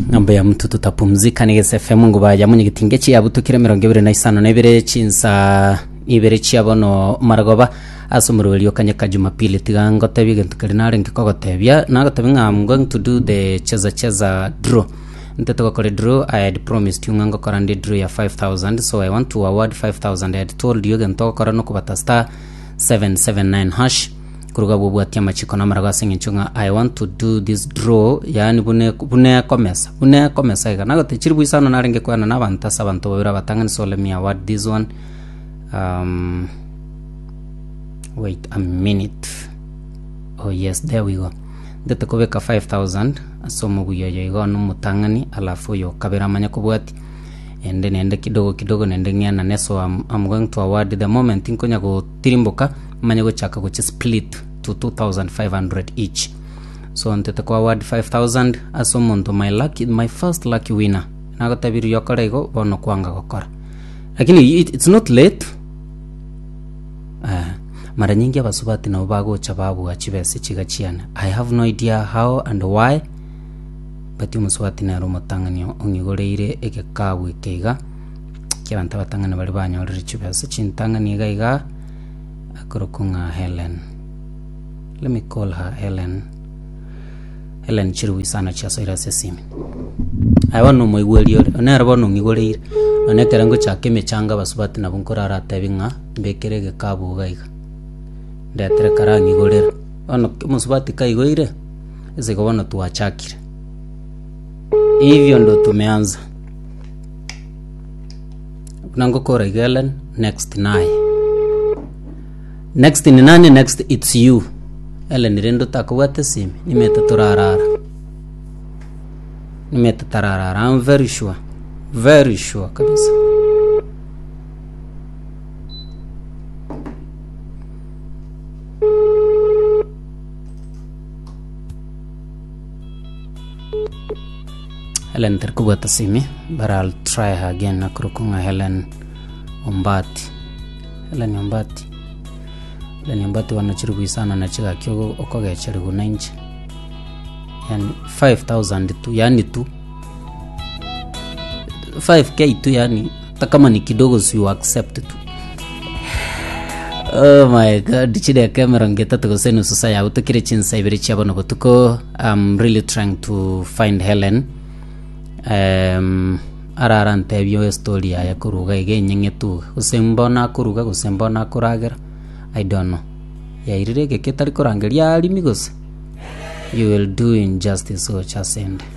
Ng'ambo ya mtu tutapumzika ni Gese FM nguba ya munyegetinge chiabutukire 25 chinsa ibere chia bono maragoba ase omorweri okanyeka Jumapili tiga ngotebie egento keria narenge kogotebia nagotebia ng'a I'm going to do the cheza cheza draw ntete gokora draw I had promised you ng'a ngokora nde draw ya 5000 so I want to award 5000 I had told you egento ogokora nokobata star 779 hash Koruga abwo obwatie amachiko na amarago ase eng'encho ng'a I want to do this draw yaani buna buna ekomesa buna ekomesa iga. Nagote chiribu isano narenge koyana na abanto ase abanto babere abatang'ani so let me award this one um, wait a minute oh yes there we go ndete kobeka 5000 ase omobuya oyo igo one omotang'ani alafu oyo okabere amanye kobwati ende nende kidogo kidogo nende ng'enane so I'm, I'm going to award the moment nkonya gotirimboka manye gochaka gochi split to 2500 each so ntete ko award 5000 ase omonto my lucky my first lucky winner nagotebirie okore igo bono kwanga gokora lakini it, it's not late eh, mara nyingi abasubati nabo bagocha babua chibesa chiga chiane i have no idea how and why but omosubati nere omotang'ani ong'igoreire egekabu eke iga kiabanto abatang'ani baria banyorire chibesa chintang'ani iga iga akorokwa ng'a Helen. Let me call her Helen. Helen chiribu isano chiasoire ase esimi. Aye bono omoigweri ore, nere bono ong'igoreire. Nonye ekero ngochaka emechango abasubati nabo nkoraratebi ng'a mbekere egekabu iga iga. Ndetere karang'igorera. Bono omosubati kaigoire, ase igo bono twachakire. Hivyo ndo tumeanza. Buna ngokora iga Ellen, next naye. Next ni nani? Next it's you. Ellen rende otakobwata esimi, nimete torarara. Nimete tararara, I'm very sure. Very sure kabisa. Helen tari kobwata simi but I'll try her again akorokwa ng'a Helen Ombati. Helen Ombati. Helen Ombati bono chiri goisana na chigaki ogo- okogecherigwa na inche. Yani 5000 tu yani tu 5k tu yani hata kama ni kidogo si you accept tu. Oh my god, chideka emerongo etato gose enusu saa yago tokire chinsa ibere chia bono botuko. I'm really trying to find Helen. Um, arara ntebie estory yaye koruga iga enyeng'etu iga. Gose mbono akoruga gose mbono akoragera, I don't know. Yairire egeka etari korangeria arimi gose? You will do injustice gocha asende.